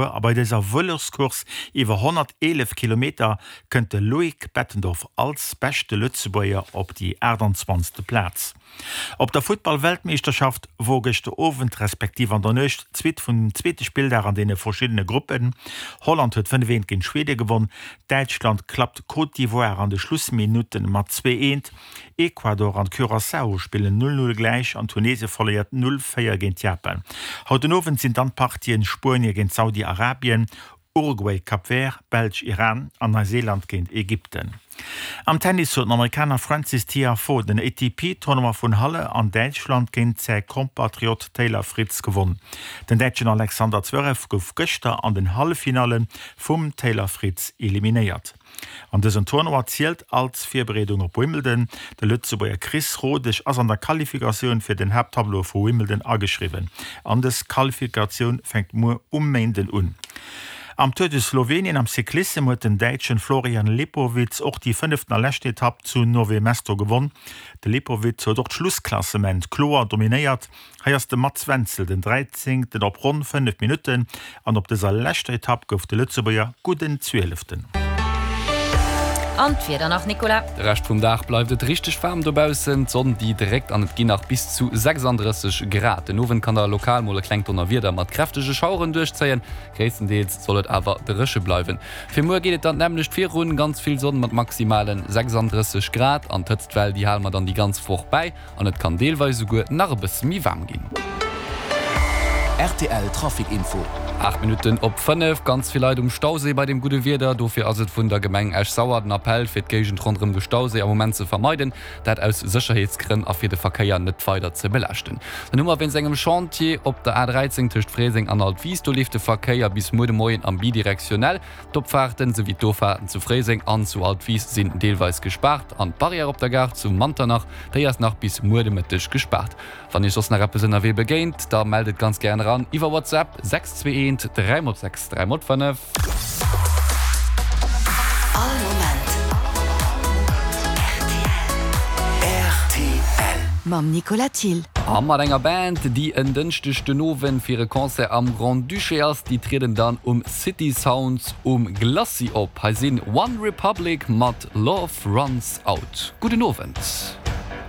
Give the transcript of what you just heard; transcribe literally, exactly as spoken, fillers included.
A bei dëser Vëloscourse iwwer honnerteelef Kilometer kënnt de Loïc Bettendorf als beschte Lëtzebuerger op déi aachtanzwanzegste Plaz. Op der Futtball-Weltmeeschterschaft wor gëschter Owend respektiv an der Nuecht d'Suite vum zweete Spilldag an deene verschiddene Gruppen. Holland huet fënnef eent géint Schwede gewonn, Däitschland klappt Côte d'Ivoire an de Schlussminutte mat zwee eent, Ecuador an Curaçao spillen null null gläich an Tunesien verléiert null véier géint Japan. Haut den Owend sinn dann d'Partien Spuenie géint Saudi-Arabien, Uruguay, Cap Vert, Belsch, Iran an Neuseeland géint Ägypten. Am Tennis huet den Amerikaner Frances Tiafoe den A T P Tournoi vun Halle an Däitschland géint säi Kompatriot Taylor Fritz gewonn. Den Däitschen Alexander Zverev gouf gëschter an den Halleffinalle vum Taylor Fritz eliminéiert. An dësen Tournoi zielt als Virbereedung op Wimbledon. De Lëtzebuerger Chris Rodesch ass an der Qualifikatioun fir den Haapttableau vu Wimbledon ageschriwwen. An dës Qualifikatioun fänkt muer um Méinden un. Am Tour de Slowenien am Cyclissem huet den Däitschen Florian Lipowitz och déi fënneften a lescht Etapp zu Nové Mesto gewonn. De Lipowitz huet och d'Schlussklassement kloer dominéiert. Hei ass de Mats Wenzel den dräizéngten op ronn fënnef Minutten an op dëser leschter Etapp gouf de Lëtzebuerger gudden Zwieleften. An d'Wieder nach, Nicolas. De Rescht vum Dag bleift et richteg waarm dobaussen. D'Sonn déi dréckt an et ginn nach bis zu sechsanddrësseg Grad. Den Owend kann da lokal mol e klengt Donnerwieder mat kräftege Schaueren duerchzéien. Gréisstendeels soll et awer dréche bleiwen. Fir muer geet et dann d'nämmlecht virun, ganz vill Sonn mat maximale sechsanddrësseg Grad. An d'Hëtztwell déi hale mer dann déi ganz Woch bäi an et kann deelweis esouguer nach e bësse méi waarm ginn. R T L Trafic Info. Aacht Minutten op fënnef, ganz vill Leit um Stauséi bei dem gudde Wieder. Dofir ass et vun der Gemeng Esch-Sauer den Appell, fir d'Géigend ronderëm de Stauséi am Moment ze vermeiden. Dat aus Sécherheetsgrënn a fir de Verkéier net weider ze belaaschten. Dann hu mer wéinst engem Chantier op der A dräizéng tëscht Fréiseng an Altwis, do leeft de Verkéier bis muer de Moien am bidirektionell. D'Opfaarten souwéi d'Offaarten zu Fréiseng an zu Altwis sinn deelweis gespaart an d'Barrière op der Gare zu Manternach, déi ass nach bis muer de Mëtteg gespaart. Wann Iech soss nach eppes ënnerwee begéint, da mellt et ganz gären eran iwwer WhatsApp sechs zwee eent dräi mol sechs dräi mol fënnef. All Moment R T L. Mam Nicolas Thill. A mat enger Band, déi en Dënschdeg den Owend fir e Concert am Grand-Duché ass. Déi trieden dann um City Sounds um Glacis op. Hei sinn One Republic mat Love Runs Out. Gudden Owend.